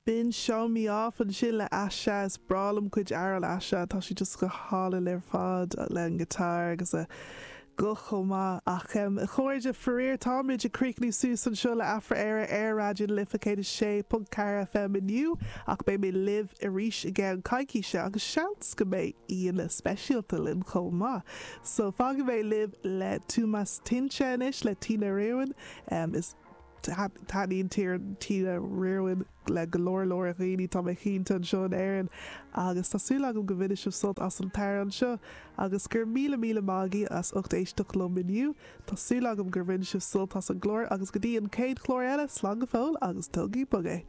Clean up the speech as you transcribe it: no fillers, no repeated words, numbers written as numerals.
B'in Show Me Off ansin le Asha. Is breá liom cuid amhrán Asha, tá sí just go hálainn ar fad le an guitar agus a guth chomh maith. Ach a chairde, faraor táimid ag críochnú suas anseo le Afra Éire ar Raidió na Life 106.4 FM inniu ach beidh mé libh arís i gceann coicíse agus seans go mbeidh aíonna speisialta linn chomh maith. So fágfaidh mé libh le Túmas Tinte anois le Tina Riordan. Is. Taitníonn Tina Riordan le go leor leor dhaoine, tá mé cinnte, anseo in Éirinn agus tá súil agam go mbainfidh sibh sult as an t-amhrán seo agus go raibh míle míle maith agaibh as ucht éisteacht liom inniu. Tá súil agam gur bhain sibh sult as an gclár agus go dtí an chéad chlár eile, slán go fóill agus tógaigí bog é!